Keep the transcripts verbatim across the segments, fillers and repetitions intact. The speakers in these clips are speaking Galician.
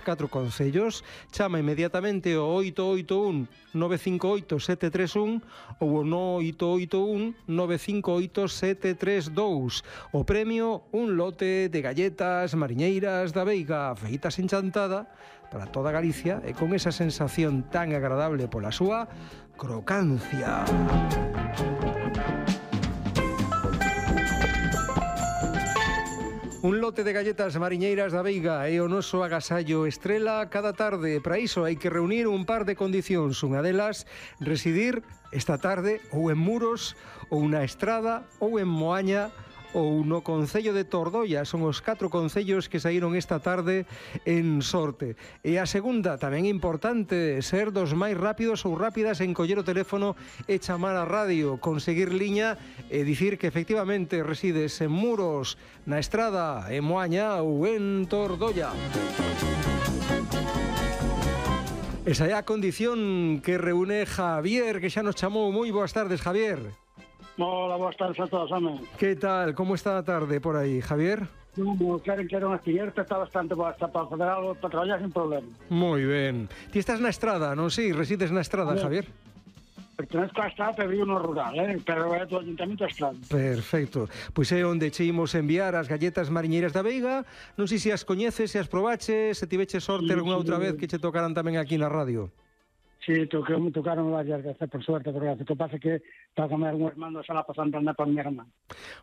catro concellos. Chama inmediatamente o oito oito un nove cinco oito sete tres un ou o no oito oito un nove cinco oito sete tres dous. O premio, un lote de galletas mariñeiras da Veiga feitas en Chantada para toda Galicia e con esa sensación tan agradable pola súa crocancia. Un lote de galletas mariñeiras da Veiga é o noso agasallo estrela cada tarde. Para iso hai que reunir un par de condicións. Unha delas, residir esta tarde ou en Muros, ou na Estrada, ou en Moaña, ou no Concello de Tordoia. Son os catro concellos que saíron esta tarde en sorte. E a segunda, tamén importante, ser dos máis rápidos ou rápidas en coller o teléfono e chamar a radio, conseguir liña e dicir que efectivamente resides en Muros, na Estrada, en Moaña ou en Tordoia. Esa é a condición que reúne Javier, que xa nos chamou. Moi boas tardes, Javier. Hola, boas tardes a todos, home. Que tal? Como está a tarde por aí, Javier? Como queren que era unha acierta, está bastante boa, está para fazer algo, para traballar sin problema. Moi ben. Ti estás na Estrada, non? Si, resides na Estrada, Javier? Pertenezco a Estrada, pero vivo no rural, eh? Pero é do Ayuntamiento de Estrada. Perfecto. Pois é onde che imos enviar as galletas mariñeiras da Veiga. Non sei se as coñeces, se as probaches, se tiveches sorte algunha outra vez que che tocaran tamén aquí na radio. Sí, toque, me tocaron varias veces, por suerte, porque o que pasa é que para comer un hermano xa la pasan andar para miña irmán.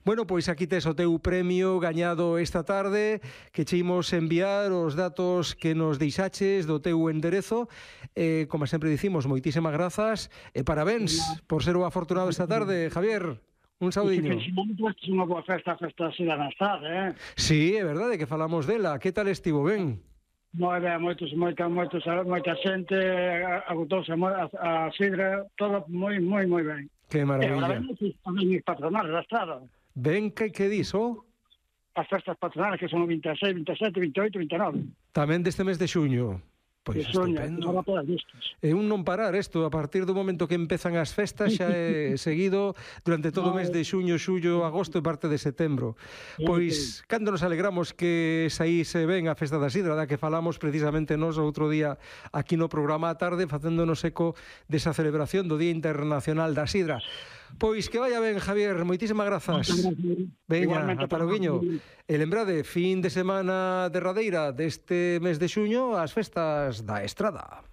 Bueno, pois aquí tes o teu premio gañado esta tarde, que che imos enviar os datos que nos deixaches do teu enderezo. Eh, como sempre dicimos, moitísimas grazas e parabéns por ser o afortunado esta tarde, Javier. Un saudiño. E que finalmente é unha boa festa, a festa así da Nastar, eh? Sí, é verdade que falamos dela. Que tal estivo, ben? Moi ben, moitos, moita, moitos, moita xente, agotouse a, a sidra, todo moi, moi, moi ben. Que maravilla. E agora ven os patronales da Estrada. Ben, que, que diso? As festas patronales que son o vinte e seis, vinte e sete, vinte e oito, vinte e nove. Tamén deste mes de xuño. Pois estupendo. É un non parar isto, a partir do momento que empezan as festas xa é seguido durante todo o mes de xuño, xullo, agosto e parte de setembro. Pois, cando nos alegramos que saíse ben a festa da sidra, da que falamos precisamente nos outro día aquí no programa a tarde, facéndonos eco desa celebración do Día Internacional da Sidra. Pois que vaya ben, Javier, moitísimas grazas. Veña, ata loguiño. E lembrade, fin de semana derradeira deste mes de xuño, as festas da Estrada.